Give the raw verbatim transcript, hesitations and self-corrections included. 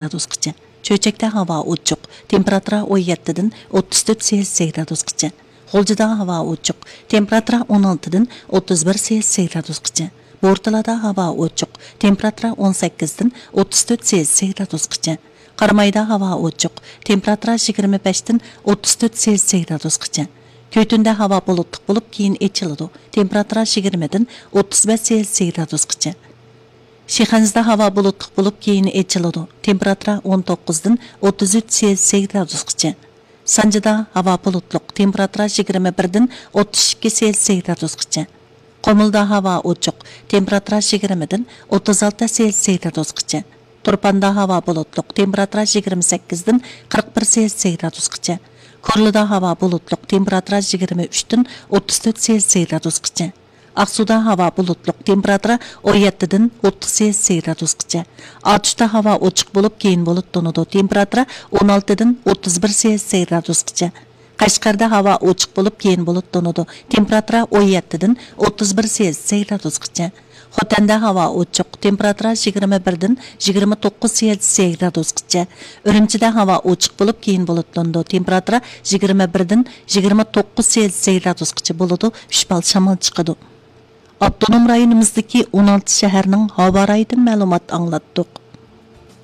گرادۇسقىچە. چۆچەكتە ھاۋا ئوچۇق، تېمپېراتۇرا ئون يەتتىدىن ئوتتۇز تۆت سېلسىيە گرادۇسقىچە. غۇلجىدا ھاۋا ئوچۇق، تېمپېراتۇرا ئون ئالتىدىن ئوتتۇز بىر سېلسىيە گرادۇسقىچە. بورتالادا ھاۋا ئوچۇق، تېمپېراتۇرا ئون سەككىزدىن ئوتتۇز تۆت سېلسىيە گرادۇسقىچە. قارامايدا ھاۋا ئوچۇق، تېمپېراتۇرا يىگىرمە بەشتىن ئوتتۇز تۆت سېلسىيە گرادۇسقىچە. كۆتۈندە ھاۋا بۇلۇتلۇق بولۇپ، كېيىن ئېچىلىدۇ، تېمپېراتۇرا يىگىرمىدىن ئوتتۇز بەش سېلسىيە گرادۇسقىچە. شىخەنزىدە ھاۋا بۇلۇتلۇق بولۇپ، كېيىن ئېچىلىدۇ، تېمپېراتۇرا ئون توققۇزدىن ئوتتۇز ئۈچ سېلسىيە گرادۇسقىچە. سانجىدا ھاۋا بۇلۇتلۇق، تېمپېراتۇرا يىگىرمە بىردىن ئوتتۇز ئىككى سېلسىيە گرادۇسقىچە. قۇمۇلدا ھاۋا ئوچۇق، تېمپېراتۇرا يىگىرمىدىن ئوتتۇز ئالتە سېلسىيە گرادۇسقىچە. تۇرپاندا ھاۋا بۇلۇتلۇق، تېمپېراتۇرا يىگىرمە سەككىزدىن قىرىق بىر سېلسىيە گرادۇسقىچە. كورلىدا ھاۋا بۇلۇتلۇق، تېمپېراتۇرا يىگىرمە ئۈچتىن ئوتتۇز تۆت سېلسىيە گرادۇسقىچە. ئاقسۇدا ھاۋا بۇلۇتلۇق، تېمپېراتۇرا ئون يەتتىدىن ئوتتۇز سېلسىيە گرادۇسقىچە. ئاتۇشتا ھاۋا ئوچۇق بولۇپ، كېيىن بۇلۇتلىنىدۇ، تېمپېراتۇرا ئون ئالتىدىن ئوتتۇز بىر سېلسىيە گرادۇسقىچە. قەشقەردە ھاۋا ئوچۇق بولۇپ، كېيىن بۇلۇتلىنىدۇ، تېمپېراتۇرا ئون يەتتىدىن ئوتتۇز بىر سېلسىيە گرادۇسقىچە. خوتەندە ھاۋا ئوچۇق، تېمپېراتۇرا يىگىرمە بىردىن يىگىرمە توققۇز سېلسىيە گرادۇسقىچە. ئۈرۈمچىدە ھاۋا ئوچۇق بولۇپ، كېيىن بۇلۇتلىنىدۇ، تېمپېراتۇرا يىگىرمە بىردىن يىگىرمە توققۇز سېلسىيە گرادۇسقىچە بولىدۇ، ئۈچ بال شامال چىقىدۇ. ئاپتونوم رايونىمىزدىكى ئون ئالتە شەھەرنىڭ ھاۋا رايىدىن مەلۇمات ئاڭلاتتۇق.